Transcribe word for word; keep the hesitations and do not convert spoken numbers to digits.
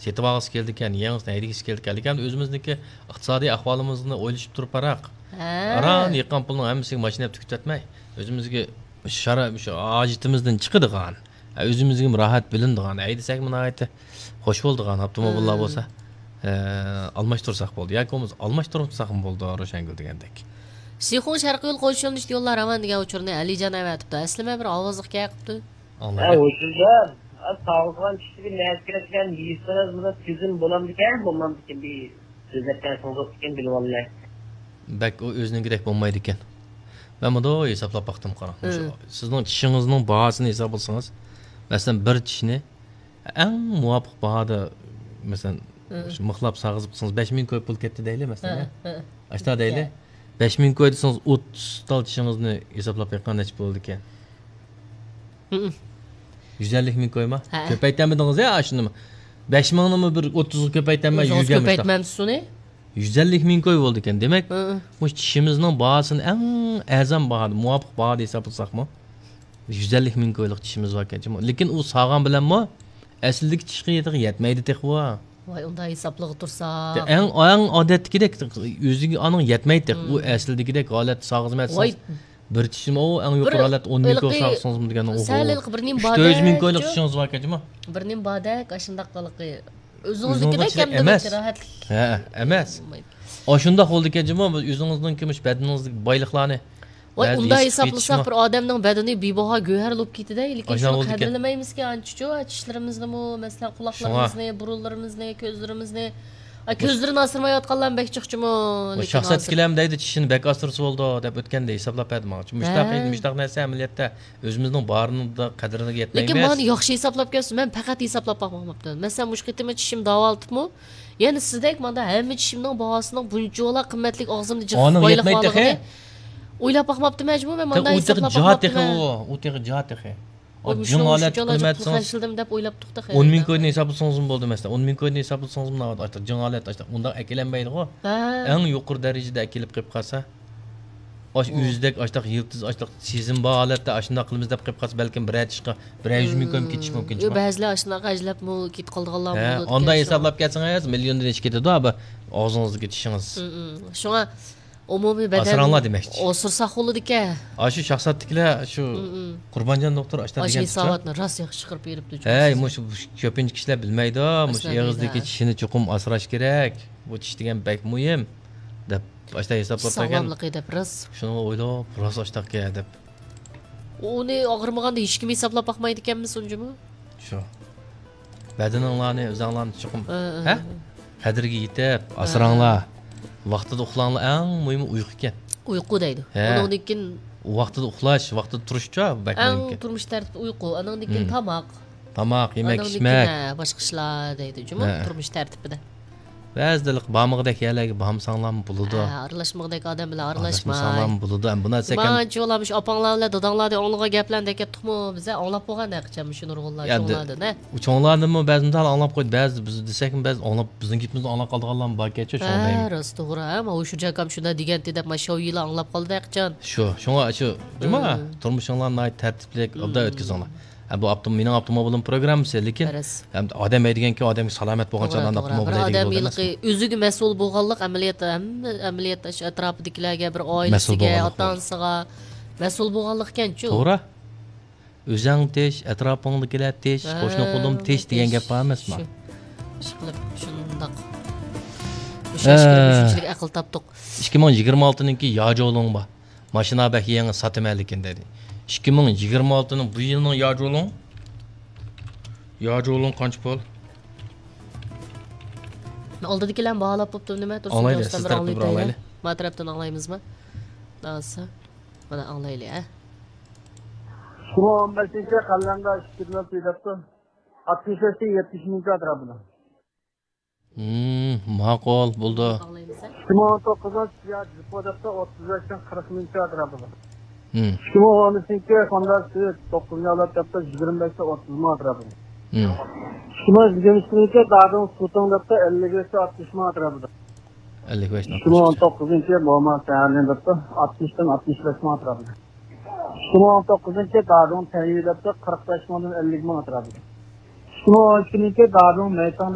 سېتىۋالغۇسى كېلىدىكەن، يېڭىسىنى ھەيدىگۈسى كېلىدىكەن. لېكىن ئۆزىمىزنىڭكى ئىقتىسادىي ئەھۋالىمىزنى ئويلىشىپ تۇرۇپ، ھە. ئاران يىغقان پۇلنىڭ ھەممىسىگە ماشىنا ئېلىپ تۈگىتىۋەتمەي، ئۆزىمىزگە شارا-، شۇ ھاجىتىمىزدىن چىقىدىغان، ئۆزىمىزگىمۇ راھەت بىلىنىدىغان، ھەيدىسەكمۇ ناھايىتى خوش بولىدىغان ئاپتوموبىللار بولسا، ئە، ئالماشتۇرساق بولدى. ياكى بولمىسا ئالماشتۇرمىساقمۇ بولىدۇ، روشەنگۈل دېگەندەك. شىخۇڭ شەرقىي يول قويۇش يۆنىلىشىدە يوللار راۋان دېگەن ئۇچۇرنى ئەلىجان ئەۋەتىپتۇ. ئەسلىمە بىر ئاۋازلىق كەل قىپتۇ. ھە، ئاڭلايلى. ھوشۇمجان، ساغىزغان كىشىگە نەرسە كېرەك دېگەن يېسىڭىز بۇنى تۈزۈم بولامدىكەن، بولمامدىكەن، بىر سۆزلەپ بەرسىڭىز بوپتىكەن، بىلىۋالىمەن. بەك ئۇ ئۆزىنىڭكىدەك بولمايدىكەن. مەن مۇنداق ھېسابلاپ باقتىم، قاراڭ. مۇشۇ سىزنىڭ چىشىڭىزنىڭ باھاسىنى ھېسابلىسىڭىز، مەسىلەن، بىر چىشنى ئەڭ مۇۋاپىق باھادا، مەسىلەن، شۇ مىخلاپ ساغىزىپ قىلسىڭىز، بەش مىڭ كوي پۇل كەتتى دەيلى، مەسىلەن. ئاشتا دەيلى. بەش مىڭ كوي دېسىڭىز، ئوتتۇز تال چىشىڭىزنى ھېسابلاپ بېقىڭ، نەچچە بولىدىكەن. يۈز ئەللىك مىڭ كويما؟ ھە. كۆپەيتەلمىدىڭىز يا ئاشۇنىمۇ؟ بەش مىڭنىمۇ بىر ئوتتۇزغا كۆپەيتەلمەي، يۈزگە مۇشۇنداق. كۆپەيتمەمسىز ئۇنى؟ يۈز ئەللىك مىڭ كوي بولىدىكەن. دېمەك، مۇشۇ چىشىمىزنىڭ باھاسىنى ئەڭ ئەرزان باھادا، مۇۋاپىق باھادا ھېسابلىساقمۇ، يۈز ئەللىك مىڭ كويلۇق چىشىمىز باركەن جۇمۇ. لېكىن ئۇ ساغان بىلەنمۇ ئەسلىدىكى چىشقا يەتمەيدۇ تېخى ئۇ. ۋاي، ئۇنداق ھېسابلىغا تۇرساق. ئەڭ، ئەڭ ئادەتتىكىدەك ئۆزىگە ئانىڭ يەتمەيدۇ تېخى. ئۇ ئەسلىدىكىدەك ھالەتتە ساغىزمەي ۋاي. بىر چىشىم ئۇ ئەڭ يۇقىرى ھالەتتە ئون مىڭ كوي ساغسىڭىزمۇ دېگەن ئۇ. سەل ھېلىقى بىر نېمە بار ئۈچ تۆت يۈز مىڭ كويلۇق چىشىڭىز باركەن جۇمۇ. بىر نېمە باردەك، ئاشۇنداق ھېلىقى. ئۆزىڭىزنىڭكىدەك ئۆزىڭىزنىڭ ئەمدى ئىچىدە ئەمەس. راھەتلىق. ھە، ئەمەس. بولمايدۇ. ئاشۇنداق بولىدىكەن جۇمۇ، ئۆزىڭىزنىڭكى مۇشۇ بەدىنىڭىزدىكى بايلىقلارنى ۋاي، بەزى ئۇنداق ھېسابلىساق، بىر ئادەمنىڭ بەدىنى بىباھا گۆھەر بولۇپ كېتىدۇ، لېكىن شۇنى قەدىرلىمەيمىزكەن ئانچىچۇ. چىشلىرىمىزنىمۇ، مەسىلەن، قۇلاقلىرىمىزنى، بۇرۇنلىرىمىزنى، كۆزلىرىمىزنى. ئا، كۆزلىرىنى ئاسرىمايۋاتقانلارمۇ بەك جىقچىمۇ. شۇڭا. شاخسات ئىككىلەم دەيدۇ، چىشىنى بەك ئاسرىسا بولىدۇ دەپ ئۆتكەندە ھېسابلاپ بەردى ماڭا. مۇشتاق، مۇشتاق نەرسە ئەمەلىيەتتە ئۆزىمىزنىڭ بارىنىدا قەدرىگە يەتمەيمىز. لېكىن مانا ياخشى ھېسابلاپ كەلسۇن، مەن پەقەت ھېسابلاپ باقماپتىمەن. مەسىلەن، مۇشۇ قېتىمى چىشىم داۋالىتىپمۇ، يەنە سىزدەك ماندا ھەممە چىشىمنىڭ باھاسىنىڭ بۇنچىۋالا قىممەتلىك ئاغزىمدا جىق بايلىق بارلىقىنى ئويلاپ باقماپتىمەن جۇمۇ، مەن مانداق ھېسابلاپ باقماپتىمەن. ئۇ تېخى جا تېخى ئۇ، ئۇ تېخى جا تېخى. جىڭ ھالەت قىممەت سىز خەجلىدىم دەپ ئويلاپتۇق تېخى. ئون مىڭ كويدىن ھېسابلىسىڭىزمۇ بولدى مەسىلەن. ئون مىڭ كويدىن ھېسابلىسىڭىزمۇ ناۋادا ئاشتا جىڭ ھالەت ئاشتا ئۇنداق ئەكېلەلمەيدىغۇ. ھە. ئەڭ يۇقىرى دەرىجىدە ئەكېلىپ قېلىپ قالسا. ئاش ئۆزىدەك ئاشتاق يىلتىز ئاشتاق سېزىم بار ھالەتتە ئاشۇنداق قىلىمىز دەپ قېلىپ قالسا، بەلكىم بىرەر چىشقا بىرەر يۈز مىڭ كويمۇ كېتىشى مۇمكىن. يو، بەزىلەر ئاشۇنداق ئەجلەپمۇ كېتىپ قالىدىغانلار بولىدىكەن. ئانداق ھېسابلاپ كەلسىڭىز مىليوندىن ئېشىپ كېتىدۇ بۇ ئاغزىڭىزدىكى چىشىڭىز. شۇڭا ئومۇمىي بەدەن ئاسراڭلار دېمەكچى. ئوسۇرساق بولىدىكەن. ئاشۇ شاخساتتىكىلەر شۇ قۇربانجان دوختۇر ئاشتا دېگەن ھېساباتنى راست ياخشى چىقىرىپ بېرىپتۇ. ھەي، مۇشۇ كۆپىنچە كىشىلەر بىلمەيدۇ. مۇشۇ ئېغىزدىكى چىشىنى چوقۇم ئاسراش كېرەك. بۇ چىش دېگەن بەك مۇھىم دەپ ئاشتا ھېسابلاپ بەرگەن. ساغلاملىقى دەپ راست. شۇنىڭغا ئويلاپ راست ئاشتاق دەپ. ئۇنى ئاغرىمىغاندا ھېچكىم ھېسابلاپ باقمايدىكەنمىز ئۇنچىمۇ؟ شۇ. بەدىنىڭلارنى ئۆزەڭلارنى چوقۇم، ھە، ھە؟ قەدرىگە يېتىپ، ھە، ئاسراڭلار. ۋاقتىدا ئۇخلاڭلار، ئەڭ مۇھىمى ئۇيقۇكەن. ئۇيقۇ دەيدۇ. ھە. ئۇنىڭدىن كېيىن ۋاقتىدا ئۇخلاش، ۋاقتىدا تۇرۇشچۇ، بەك مۇھىمكەن. ئەڭ تۇرمۇش تەرتىپى ئۇيقۇ، ئانىڭدىن كېيىن تاماق. تاماق، يېمەك، ئىچمەك. ھە، باشقا ئىشلار دەيدۇ جۇمۇ، تۇرمۇش تەرتىپىدە. بەزىدە بارمىغۇدەك يەرلەرگە بارمىساڭلارمۇ بولىدۇ. ھە، ئارىلاشمىغۇدەك ئادەم بىلەن ئارىلاشماي. ئارىلاشمىساڭلارمۇ بولىدۇ. ئەمما بۇ نەرسە كەم. مانچە ئۇلار مۇشۇ ئاپاڭلار بىلەن داداڭلاردىن ئاڭلىغان گەپلەرنى دەپ كەتتۇقمۇ؟ بىزە ئاڭلاپ بولغان ھەقىچان مۇشۇ نۇرغۇنلار يا، چوڭلاردىن، ھە؟ ئۇ چوڭلاردىنمۇ بەزى مىسال ئاڭلاپ قويدى. بەزى بىز دېسەكمۇ بەزى ئاڭلاپ، بىزنىڭ گېپىمىزنى ئاڭلاپ قالىدىغانلارمۇ باركەنچۇ، شۇڭا دەيمەن. ھە، راست، توغرا، ھە؟ ماۋۇ شۇجاكام شۇنداق دېگەنتى دەپ، ما شاۋيىلار ئاڭلاپ قالدى ھەقىچان. شۇ، شۇڭا شۇ، جۇما، تۇرمۇشۇڭلار ناھايىتى تەرتىپلىك، ئوبدان ئۆتكۈزۈڭلار. ھە، بۇ ئاپتوم-، مېنىڭ ئاپتوموبىلىم پروگراممىسى، لېكىن ھەم ئادەم ھەيدىگەنكى ئادەمگە سالامەت بولغان چاغدا ئانداق توغرا. بىر ئاپتوموبىل ھەيدەيدىغۇ ئادەم ئادەم ئەمەسمۇ؟ ئۆزىگە مەسئۇل بولغانلىق ئەمەلىيەتتە، ھەممە ئەمەلىيەتتە شۇ ئەتراپىدىكىلەرگە، بىر ئائىلىسىگە، ئاتا-ئانىسىغا مەسئۇل بولغانلىقكەنچۇ. توغرا. ئۆزەڭ تىنچ، ئەتراپىڭدىكىلەر تىنچ، قوشنا قولۇم تىنچ دېگەن گەپ بار ئەمەسمۇ؟ شۇ. ئىشقىلىپ شۇنداق مۇشۇ ئەشكىلەر مۇشۇنچىلىك ئەقىل تاپتۇق. ئىككى مىڭ يىگىرمە ئالتىنىڭكى ياجولۇڭ بار. ماشىنا بەك يېڭى، ساتىمەن لېكىن دېدى. ئىككى مىڭ يىگىرمە ئالتىنىڭ بۇ يىلنىڭ ياجولۇڭ. ياجولۇڭ قانچە پۇل؟ ئالدىدىكىلەرمۇ باھالاپ بوپتۇ نېمە؟ تۇرسۇن ئاڭلايلى، دوستلار، سىز بىر تەرەپتىن بىر ئاڭلايلى. ئاڭلايلى. ما تەرەپتىن ئاڭلايمىزما؟ داسا. مانا ئاڭلايلى، ھە. ئىككى مىڭ ئون بەشىنچى قەلەمدە ئىككى يۈز ئەللىك دەپتۇ. ئاتمىش بەشتىن يەتمىش مىڭ ئەتراپىدا. ماقۇل، بولدى. ئىككى مىڭ ئون توققۇزىنچى يا جىپو دەپتۇ، ئوتتۇز بەشتىن قىرىق مىڭ ئەتراپىدا. ئىككى مىڭ ئون ئۈچىنچى خوندا سىۋىك، توققۇزىنچى ئاۋلاد دەپتۇ، يىگىرمە بەشتىن ئوتتۇز مىڭ ئەتراپىدا. ئىككى مىڭ يىگىرمە ئىككىنچى دادىڭ سۇتۇڭ دەپتۇ، ئەللىك بەشتىن ئاتمىش مىڭ ئەتراپىدا. ئەللىك بەشتىن ئاتمىش. ئىككى مىڭ ئون توققۇزىنچى موما سەھەرلىن دەپتۇ، ئاتمىشتىن ئاتمىش بەش مىڭ ئەتراپىدا. ئىككى مىڭ ئون توققۇزىنچى دادىڭ تەييى دەپتۇ، قىرىق بەش مىڭدىن ئەللىك مىڭ ئەتراپىدا. ئىككى مىڭ ئون ئىككىنچى دادىڭ مەيتاڭ